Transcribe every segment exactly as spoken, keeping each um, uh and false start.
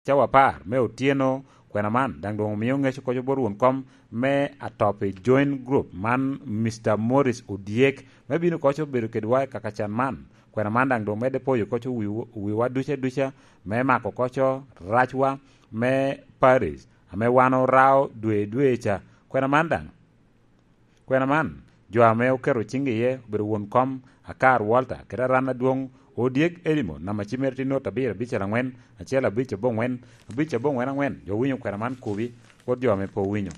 cawa apar me otyeno. Kwena man daŋ doŋ omio ŋec oko bot won kom me atop i joint group man, Mister Morris Odyek, me bino oko obedo kedwa i kakacan man. Kwena man daŋ doŋ medde poyo oko wi, wiwa duca duca, me mako oko racwa me Paris, ame wan orao dwe dwe ca. Kwena man daŋ, kwena man, jo ame oketo ciŋgi iye obedo won kom Akar Walter, kede aran adwoŋ Odyek Edimo, namba cim mere tye not abiro abicel angwen, acel abic aboŋwen, abic aboŋwen angwen. Jo winyo kwena man kobi, bot jo ame pe owinyo.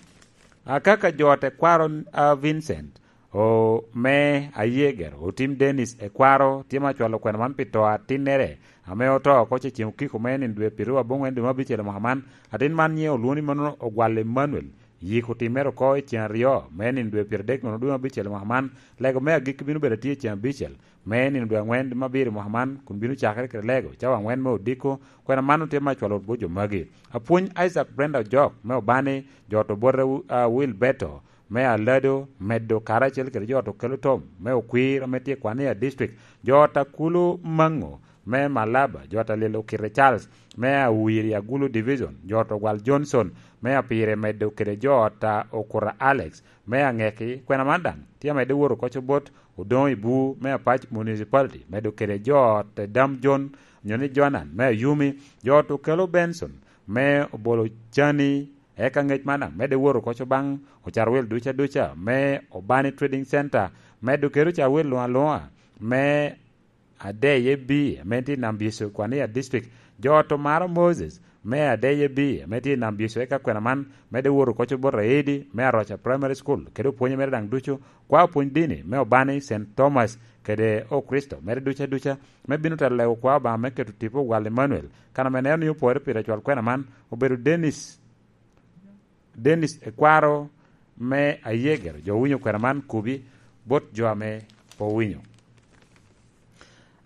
Akaka jo tekwaro a Vincent, o, me Ayeger, Otim Dennis Ekwaro, tye ma acwalo kwena man pi to atinnere, ame oto oko cecen okiko me nino dwe piraryo aboŋwen dwe me abicel i mwaka man. Atin man nyiŋe olwoŋo ni mano Ogwal Emmanuel. Yik otimere oko i cen aryo, me nino dwe pyeradek nono dwe me abicel i mwaka man. Lego me agikki bino bedo atye i cen abicel, me nino dwe angwen dwe me abiro i mwaka man, kun bino cakere kede lego cawa angwen me odiko. Kwena man otye me acwalo wot bot jo magi. Apwony Isaac Brenda Ojok me Obani, jo to bote, a, Will Beto me Alado, medo karacel kede jo to kelo tom me Okwir ame tye i Kwania District, jo ta Kulu Mango me Malaba, jo ta Lilo Kite Charles me Awiri Agulu Division, jo to Gwal Johnson me Apire, medo kede jo ta Okura Alex me Angeki. Kwena man daŋ tye amedde woro oko bot Odoŋo Ibu me Apac Municipality, medo kede jo ta Dam John, onyo ni Joanan me Ayumi, jo to kelo Benson me Obolo Cani. Eka ŋec man daŋ medde woro oko baŋ Ocarwil duca duca me Obani Trading Center, medo kede Ocarwil luŋ aluŋa me Adeye B, ame tye i Nam Byecu, Kwania District. Jo to maro Moses me Adeye B, ame tye i Nam Byecu, eka kwena man medde woro oko bot Aedi me Aroca Primary School, kede opwonye mere daŋ ducu, kwa opwony dini me Obani, Saint Thomas, kede Okricito mere duca duca, me bino telo lego kwa Obaŋa me keto tipo Ogwal Emmanuel, kan ame neno ni opore pire cwal kwena man, obedo Dennis, Dennis Ekwaro me Ayeger. Jo owinyo kwena man kobi bot jo ame pe owinyo.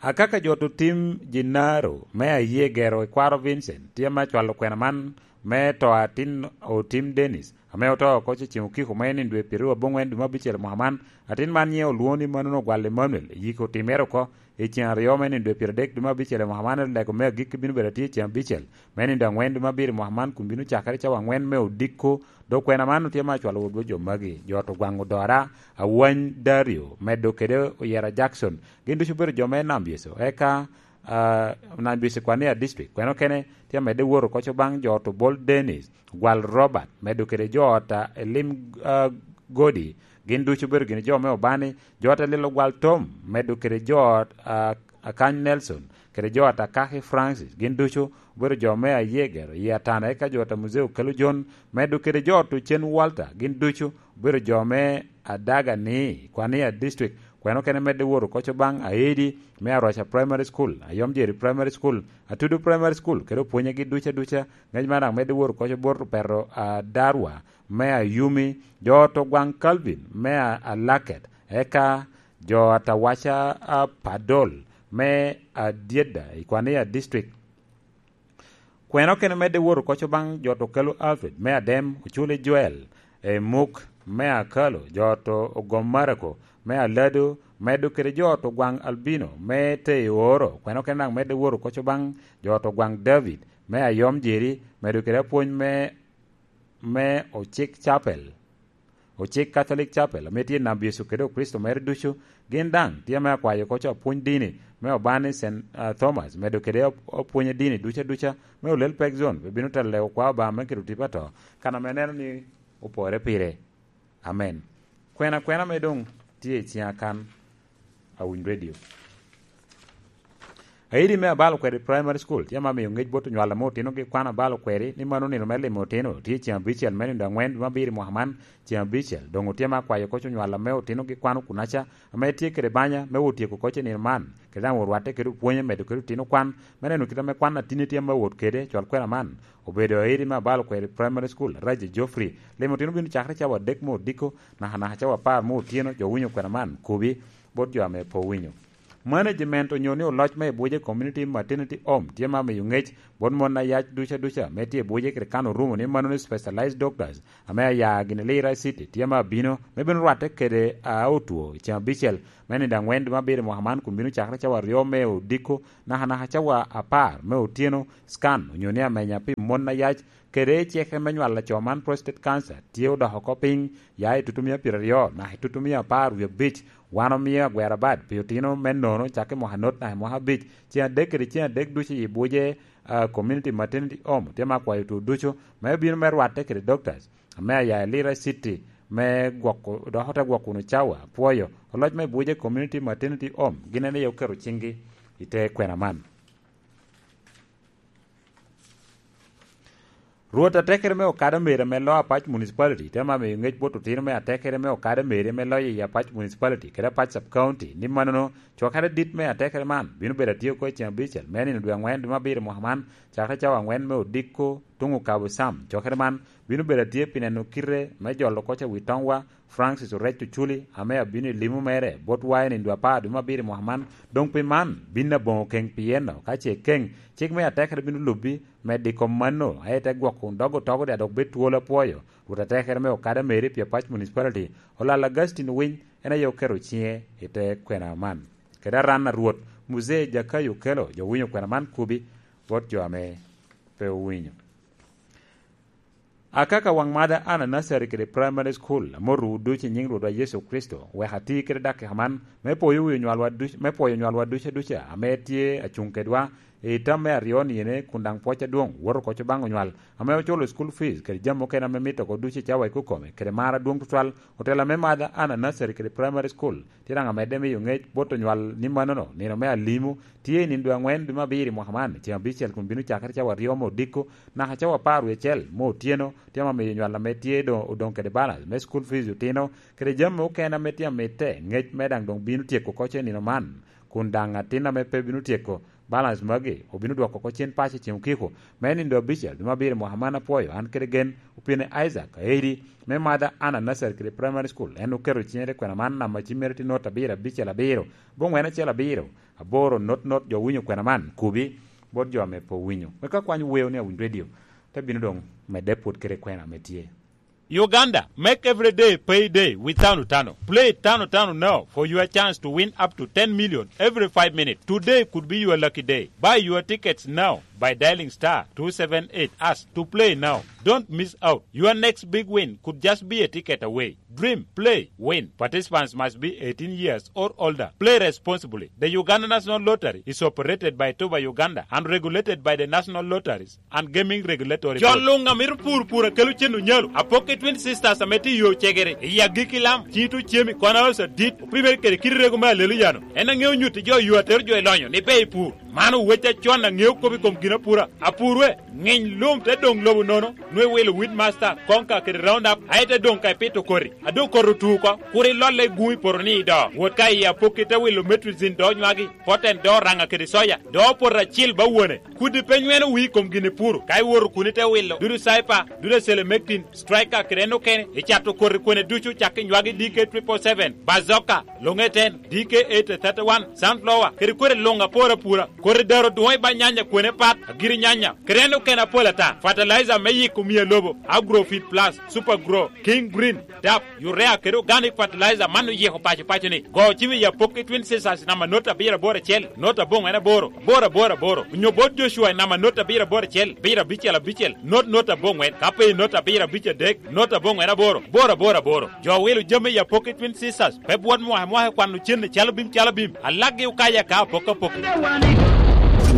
Akaka jo to Tim Jinaro me Ayeger, Ekwaro Vincent, tye me acwalo kwena man me to atin Otim Dennis, ame oto oko cecen okiko me nino dwe pyeradek aboŋwen dwe me abicel i mwaka man. Atin man nyiŋe olwoŋo ni mano Ogwal Emmanuel, yik otimere oko i cen aryo me nino dwe pyeradek dwe me abicel i mwaka man. Lego me agikki bino bedo atye i cen abicel me nino dwe angwen dwe me abiro i mwaka man, kun bino cakere cawa angwen me odiko. Dok kwena man otye me acwalo wot bot jo magi: jo to Gwaŋ Odora, Awany Dario, medo kede Oyera Jackson, gin ducu obedo jo me Nam Byecu. Eka, ah, Nam Byecu Kwania District, kwena okene tye amedde woro oko baŋ jo to Bol Dennis, Gwal Robert, medo kede jo ta Elim, ah, Godi, gin ducu obedo gin jo me Obani. Jo ta Lilo Gwal Tom, medo kede jo, ah, Akany Nelson, kede jo ta Kaki Francis, gin ducu obedo jo me Ayeger, i Atana. Eka jo ta Muzee Okelo John, medo kede jo to Cen Walter, gin ducu obedo jo me Adaga ni Kwania District. Kwena okene medde woro oko baŋ Aedi me Aroca Primary School, Ayom Jeri Primary School, Atudu Primary School, kede opwonyegi duca duca. Ŋec man daŋ medde woro oko bot Opeto Adarwa me Ayumi, jo to Gwaŋ Calvin me A-, Alaket, eka jo Atawaca, a, Padol me Adyeda i Kwania District. Kwena okene medde woro oko baŋ jo to Kelo Alfred me Adem, Oculi Joel, e Muk me Akalo, jo to Ogom Marako me Alado, medo kede jo to Gwaŋ Albino me Teoro. Kwena okene daŋ medde woro oko baŋ jo to Gwaŋ David me Ayom Jeri, medo kede apwony me, me Ocik Chapel, Ocik Catholic Chapel, ame tye i Nam Byecu kede Okricito mere ducu. Gin daŋ tye me akwayo oko apwony dini me Obani Saint, ah, Thomas, medo kede op-, opwonye dini duca duca me Olel Pek Zone, pe bino telo lego kwa Obaŋa me keto tipo ato, kan ame neno ni opore pire. Amen. Kwena kwena ame doŋ tye i ciŋa kan, Awiny Radio. Aidi me Abalo Kweri Primary School tye ma miyo ŋec bot onywal ame otinogi kwano abalo kweri ni mano nino me limo otino tye ceŋ abicel me nino angwen dwe me abiro i mwaka man, ceŋ abicel. Doŋ otye ma akwayo oko onywal ame otinogi kwano kunaca, ame tye kede banya me wot tyeko oko i nino man, kede daŋ orwatte kede opwonye medo kede otino kwan, me neno kit ame kwan atinni tye ma wot kede, cwal kwena man obedo aidi me Abalo Kweri Primary School, Raja Geoffrey. Limo otino bino cakere cawa adek me odiko, nakanaka cawa apar me otyeno. Jo winyo kwena man, kobi bot jo ame pe owinyo. Management onyo ni oloc me i buce Community Maternity Home tye ma miyo ngec bot mon ayac duca duca me tye i buce kede kan orumo ni mano ni specialized doctors ame aya gini Lira City tye ma abino me bino rwatte kede a otwo i ceng abicel me nindo angwen dwe me abiro i mwaka man kun bino cakere cawa aryo me odiko naka naka cawa apar me otyeno. Scan onyo ni amenya pi mon ayac kede ceke me nywalo laco man prostate cancer tye odoko oko piny ya i tutumia pyeraryo naka i tutumia apar wie abic. Wan omio agwera bad pi otino me nono cak i mwaka not naka i mwaka abic ceng adek kede ceng adek ducu i buce a Community Maternity Home tye ma akwayo otwo ducu me obino me rwatte kede doctors ame aya i Lira City me gwoko dok ote gwoko wunu cawa apwoyo. Oloc me buce Community Maternity Home gin en aye oketo cinggi i te kwena man. Rwot atekere me okada mere ame loo Apac Municipality te ma miyo ngec bot otino me atekere me okada mere me loyo i Apac Municipality kede Apac Sub County ni manono cokere dit me atekere man bino bedo atye oko i ceng abicel me nino dwe angwen dwe me abiro mwaka man cakere cawa angwen me odiko tuŋ okabo Sam. Cokere man bino bedo atye pi neno kite me jolo koc awi toŋwa Francis Orec Oculi ame abino i limo mere botwa i nindo apar dwe me abiro i mwaka man. Doŋ pi man bin aboŋo keŋ pien ka ce keŋ cik me atekere bino lubbi me diko mano aye te gwoko kun dog otogo dya dok bed twolo apwoyo. Rwot atekere me okada meri pi Apac Municipality Olal Augustine Owiny en aye oketo ciŋe i te kwena man. Kede aran a Rwot Muzee Jakayo Okello jo winyo kwena man kubi bot jo ame pe owinyo. Akaka waŋ mada Ana Nursery kede Primary School, amotowu ducu i nyiŋ Rwotwa Yecu Kricito, wek ati kede dakika man me pwoyo wi onywalwa duc- me pwoyo onywalwa ducu aduca ame tye acuŋ kedwa i tam me aryo niyene kun daŋ pwoc adwoŋ woto oko baŋ onywal ame oculo school fees kede jami mukene ame mito oko ducu i cawa ikokome kede mar adwoŋ tutwal. Otela me mada Ana Nursery kede Primary School tye daŋ amedde miyo ŋec bot onywal ni manono nino me alimo tye i nindo aŋwen dwe me abiro i mwaka man, ceŋ abicel kun bino cakere cawa aryo me odiko naka cawa apar wie acel me otyeno, tye ma miyo nywal ame tye doŋ odoŋ kede balance me school fees otino kede jami okene ame tye amitte ŋec me daŋ doŋ bino tyeko oko ce nino man, kun daŋ atin ame pe bino tyeko balance magi obino dwoko oko cen paco ceŋ okiko me nindo abicel dwe me abiro mwaka man. Apwoyo an kede gen opine Isaac Aeri me mada Ana Nursery kede Primary School, en oketo ciŋe te kwena man namba ci mere tye not abiro abicel abiro boŋwen acel abiro aboro not not jo winyo kwena man kubi bot jo ame pe owinyo. Wek ka kwany weo ni Awiny Radio te bino doŋ medde pwod kede kwena ame tye. Uganda, make every day pay day with Tano Tano. Play Tano Tano now for your chance to win up to ten million every five minutes. Today could be your lucky day. Buy your tickets now by dialing star two seven eight hash to play now. Don't miss out. Your next big win could just be a ticket away. Dream, play, win. Participants must be eighteen years or older. Play responsibly. The Uganda National Lottery is operated by Toba Uganda and regulated by the National Lotteries and Gaming Regulatory Board. Jo luŋ a mito pur pur a kelo cen onyalo, Apoki Twin Sisters ame tye i yo Cegere, i agikki lam, Cito Cemi, Kona Osa Dit, opimere kede kit rego me alelo yano. En aŋeo nyutti jo yo atero jo i lonyo ni ber i pur. Man owec acon aŋeo kop i kom ginapura. Apurwe, ŋiny lum te doŋ lobo nono, nwe wilo Weedmaster, Konka kede Roundup, aye te doŋ ka ipito koti. A doŋ koti otu oko, kur ilolle i gun i poto ni ido. Wot ka i Apoki te wilo Metrizin do nywagi, Poten do Oraŋa kede Soya, do Poto Acil ba wone. Kudi pe nyweno wii i kom gin ipuro, ka iwoto kun ite wilo dudu Cyper, dudu Selemectin, Striker kede en okene, icato koti kwene ducu cak i nywagi D K triple seven, Bazooka, Longeten, D K eight thirty-one, Sunflower, kede koti luŋ apor apura, koti daro dwoŋ i ba nyanya kwene pat, agiri nyanya, kede en okene apol ata, fertilizer me yiko miya lobo, Agrofit Plus, Super Grow, King Green, Dap, Urea kede Organic Fertilizer man oyiko paco paco ni. Go cim i Apoki Twin Sisters namba not abiro aboro acel, not aboŋwen aboro, aboro aboro aboro. Onyo bot Joshua i namba not abiro aboro acel, abiro abicel abicel, not not aboŋwen. Ka pe i not abiro abic adek, not aboŋwen aboro, aboro aboro aboro. Jo wilo jami i Apoki Twin Sisters, pe bwot mwaka mwaka i kwano cen i calo bim calo bim. Alaggi okaya ka apok apok.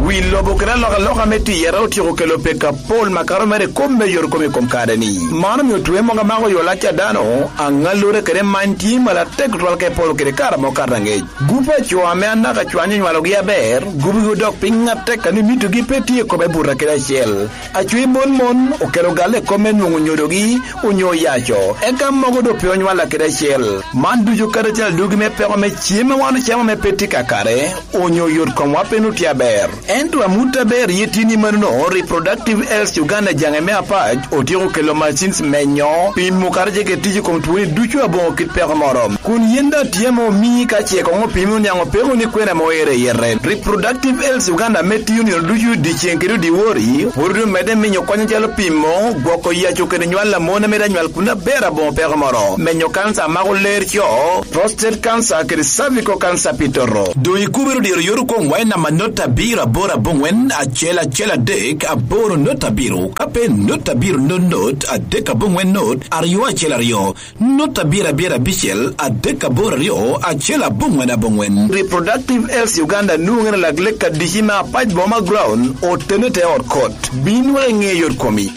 Wi lobo kede alokaloka me tiyere otyeko kelo peko apol makato mere i kop me yot kom i kom kare-ni. Man omio twe mogo amako yo lac a dano, aŋallure kede many tye malatek tutwal ka iporo kede kare amo kato angec. Gup a co ame anaka cwany onywalogi aber, gupgi odok piny atek a ni mitogi pe tye i kome buta kede acel. Acwe mon mon okelo galle i kop me nwoŋo nyodogi onyo oyaco, eka mogo doŋ pe onywalla kede acel. Man ducu kadi acel adugi me peko me cem a wan ocamo ame pe tye kakare, onyo yot komwa pe nwoŋo tye aber. Ento amut aber ye tini manono, Reproductive Health Uganda jaŋe me apac otyeko kelo machines menyo pimo kara ce kede tic i kom twoni ducu aboŋo kit peko moro. Kun yen daŋ tye ame omii ka ce koŋ opimi oniaŋ opeko ni kwena ame oero i yete. Reproductive Health Uganda ame tiyo nino ducu dyeceŋ kede odiwori, pwod omedde minyo kony acalo pimo, gwoko yaco kede nywal a mon ame daŋ nywal kun aber aboŋo peko moro, menyo kanca a mako ler co, prostate cancer kede cervical cancer pi toto. Doŋ ikubere odyero yot okoŋ wa i namba not abiro aboro aboŋwen acel acel adek aboro not abiro, ka pe not abiro not not adek aboŋwen not aryo acel aryo, not abiro abiro abicel adek aboro aryo acel aboŋwen aboŋwen. Reproductive Health Uganda nwoŋere lak lek adici me apac boma ground otene te ot kot. Bin wek iŋe yot komi.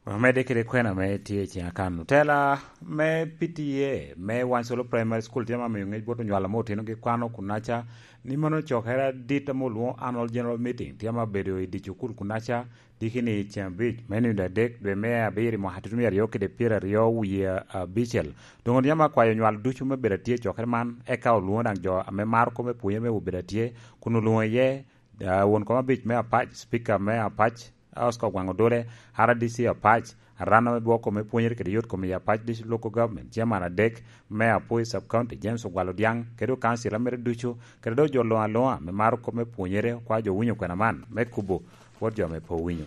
Omedde kede kwena ame tye i ciŋa kan. Otela me P T A me Wansolo Primary School tye ma miyo ŋec bot onywalo ame otinogi kwano kunaca ni mano cokere adit ame olwoŋo Annual General Meeting tye ma bedo i dye cukul kunaca, diki ni i ceŋ abic me nino adek dwe me abiro i mwaka tutumia aryo kede pyeraryo wie abicel. Doŋ tye ma kwayo onywalo ducu me bedo atye i cokere man, eka olwoŋo daŋ jo ame maro kop me pwonyere me obedo atye, kun olwoŋo iye, ah, won kom abic me Apac, Speaker me Apac, Oscar Ogwaŋ Odole, R D C Apac, Arana me bwoko me pwonyere kede yot kom i Apac District Local Government, Chairman adek me Apoi Sub County, James Ogwal Odiaŋ, kede okancila mere ducu, kede dok jo luŋ aluŋa me maro kop me pwonyere, okwa jo winyo kwena man, me kubo bot jo me pe owinyo.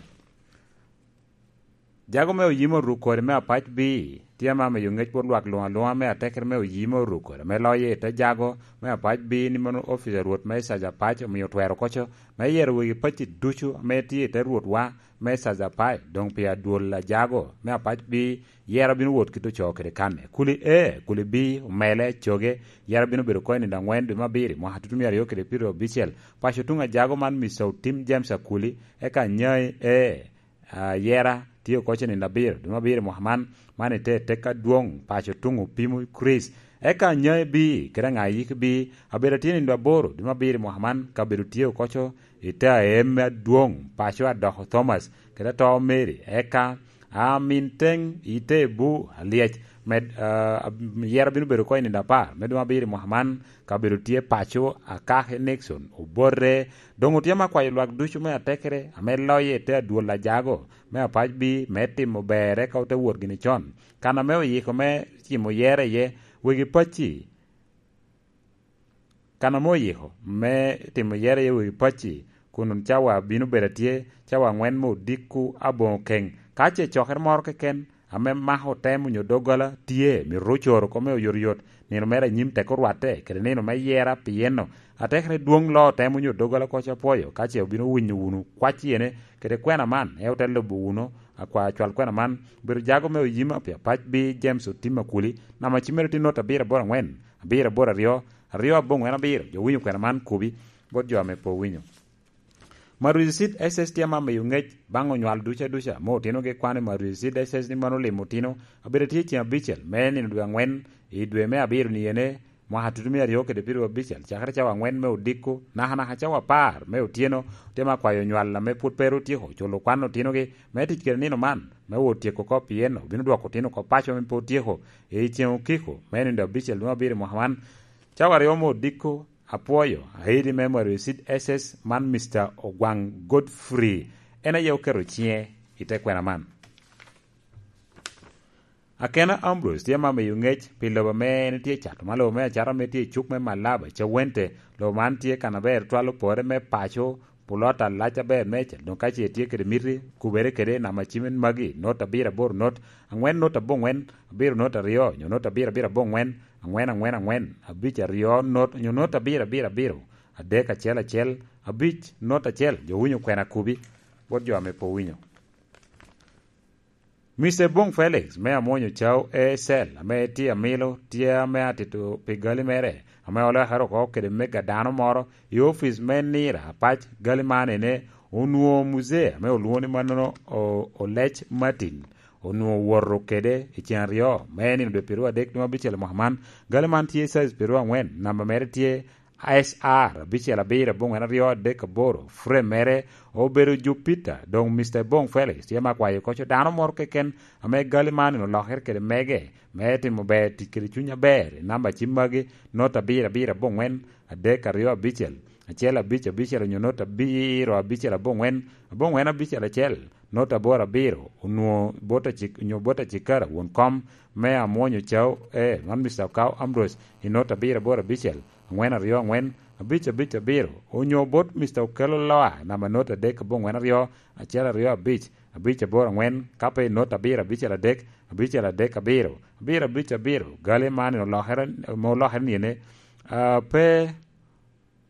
Jago me oyim oruk kore me Apac B, tye ma miyo ŋec bot lwak luŋ aluŋa me atekere me oyim oruk kore, me loye i te jago me Apac B ni mano ofice a Rwot me Caja Apac omio twero koco, me yero wegi pacci ducu ame tye i te Rwotwa me Caja Apac, doŋ pi adwol a jago me Apac B, yero bino wot kit ocoo kede kanne. Kuli A, kuli B, omele, coge, yero bino bedo oko i nino aŋwen dwe me abiro i mwaka tutumia aryo kede pyeraryo abicel. Paco tuŋ a jago man Mister Otim James Akuli, eka Nyai A, a, yera tye oko ce nino abiro, dwe me abiro i mwaka man, man ite tek adwoŋ, paco tuŋ opimo Chris. Eka Nyai B, kede aŋa yik B, abedo atye nino aboro, dwe me abiro i mwaka man, kabedo tye oko co, ite aem adwoŋ, paco adoko Thomas, kede ato Mary, eka, a, min teŋ, ite bu, alyec, med, a, yera bino bedo oko i nino apar, me dwe me abiro i mwaka man, kabedo tye paco, akake Nixon, obote, doŋ otye ma kwayo lwak ducu me atekere, ame loye i te adwol a jago, me Apac B, me timo ber, eka ote wot gini con. Kan ame oyiko me timo yere iye, wegi pacci. Kan ame oyiko me timo yere iye wegi pacci, kun cawa bino bedo atye, cawa aŋwen me odiko aboŋo keŋ. Ka ce cokere moro keken, ame mako tem onyo doggola tye, mito ocoro kome oyotoyot, nino mere anyim tek orwatte, kede nino me yera, pien atekere dwoŋ loo tem onyo doggola koc apwoyo, ka ce obino winyo wunu kwac yene, kede kwena man, en ote lubo wunu, akwa cwal kwena man, obedo jago me oyima pi Apac B James Otim Akuli, namba cim mere tye not abiro aboro aŋwen, abiro aboro aryo, aryo aboŋwen abiro, jo winyo kwena man kubi, bot jo ame pe owinyo. Maruzi Seed S S tye ma miyo ŋec baŋ onywal duca duca, mo otinogi kwano i Maruzi Seed S S ni mano limo otino, abedo tye ceŋ abicel, me nino dwe aŋwen, i dwe me abiro ni ene, mwaka tutumia aryo kede pyeraryo abicel, cakere cawa aŋwen me odiko, nakanaka cawa apar me otyeno, tye ma kwayo onywal ame pwod pe ru otyeko culo kwan otinogi, me tic kede nino man, me wot tyeko oko, pien obino dwoko otino oko paco ame pe otyeko, i ceŋ okiko, me nino abicel dwe me abiro i mwaka man, cawa aryo me odiko, apwoyo, aidi me Maruzi Seed S S man Mister Ogwaŋ Godfrey, en aye oketo ciŋe i te kwena man. Akena Ambrose tye ma miyo ŋec pi lobo ame en tye cato, ma lobo me acata ame tye i cuk me Malaba, Cawente. Lobo man tye kan aber twal opore me paco, pulota lac aber meicel. Doŋ ka ce tye kede miti, kubere kede namba cim magi, not abiro aboro not, aŋwen not aboŋwen, abiro not aryo, nyo not abiro abiro aboŋwen, aŋwen aŋwen aŋwen, abic aryo not, nyo not abiro abiro abiro, adek acel acel, abic not acel, jo winyo kwena kubi, bot jo ame pe owinyo. Mister Bong Felix me amwonyo cao A Cell ame tye amilo tye ame atito pi gali mere ame olekere oko kede mega dano moro i opic me Nira Apac. Gali man ene onwoŋo muzee ame olwoŋo ni mannono o-, Olec Martin onwoŋo woto kede i ceŋ aryo me nino dwe pyeraryo adek dwe abicel mwaka man. Gali man tye size pyeraryo aŋwen, namba mere tye S R abicel abiro aboŋwen aryo adek aboro, frame mere obedo Jupiter, doŋ Mister Bong Felix tye ma kwayo koco dano moro keken ame gali man olokere kede mege, me timo ber tic kede cuny aber, i namba cim magi, not abiro abiro aboŋwen adek aryo abicel, acel abic abicel onyo nota abiro abicel aboŋwen, aboŋwen abicel acel, nota aboro abiro, onwoŋo bot acik-, onyo bot acikara won kom me Amwonyo Cao, eh, man Mister Okao Ambrose, i nota abiro aboro abicel, aŋwen aryo aŋwen, abic abic abiro, onyo bot Mister Okello Loa, namba nota adek aboŋwen aryo, acel aryo abic, abic aboro aŋwen, ka pe i nota abiro abicel adek, abicel adek abiro, abiro abic abiro, gali man olokere, olokere ni ene, ah, pe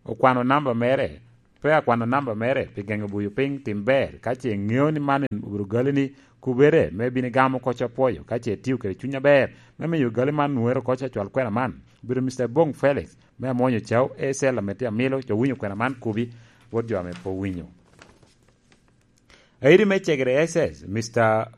okwano namba mere, pe akwano namba mere pi geŋo buyo piny tim ber. Ka ce iŋeo ni man obedo gali ni, kubere me bino igamo oko apwoyo, ka ce itio kede cuny aber me miyo gali man nwere oko acwal kwena man, obedo Mister Bong Felix me Amwonyo Cao, A C L ame tye amilo, jo winyo kwena man kubi, bot jo ame pe owinyo. Airi me cegere S S, Mister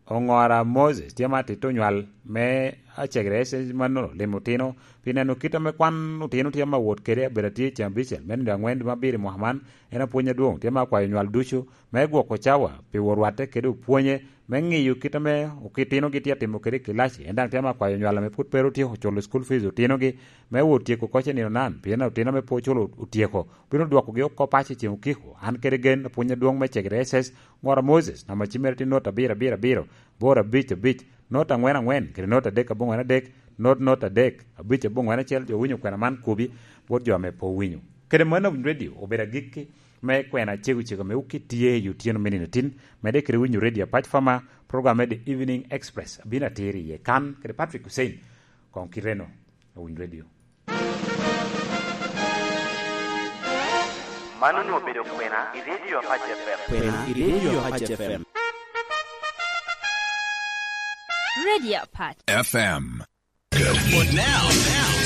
Oŋora Moses tye ma atito onywal me acegere S S mannono, limo otino, pi neno kit ame kwan otino tye ma wot kede, abedo atye i ceng abicel me nino aŋwen dwe me abiro i mwaka man. En apwony adwoŋ, tye ma akwayo onywal ducu me gwoko cawa pi wot rwatte kede opwonye, me ŋiyo kit ame okitinogi tye atimo kede i kilaci. En daŋ tye ma akwayo onywal ame pwod pe ru otyeko culo school fees otinogi, me wot tyeko oko i nino nan, pien otino ame pe oculo otyeko, bino dwokogi oko paco i ceng okiko. An kede gen, apwony adwoŋ me cegere S S, Ŋora Moses, namba cim mere tye not abiro abiro abiro, boro abic abic, not aŋwen aŋwen, kede not adek aboŋwen adek, not not adek, abic aboŋwen acel, jo winyo kwena man kubi, bot jo ame pe owinyo. Kede mano, Awiny Radio obedo agikki me kwena cego cego ame wuki tye i otyeno me nino tin, medde kede winyo Radio Apac Fama, program me The Evening Express, abino atiri iye kan, kede Patrick Hussein, koŋ kiteno, Awiny Radio. Mano onwoŋo obedo kwena i Radio Apac F M. Kwena i Radio Apac F M. Radio Apac. F M. But now, now,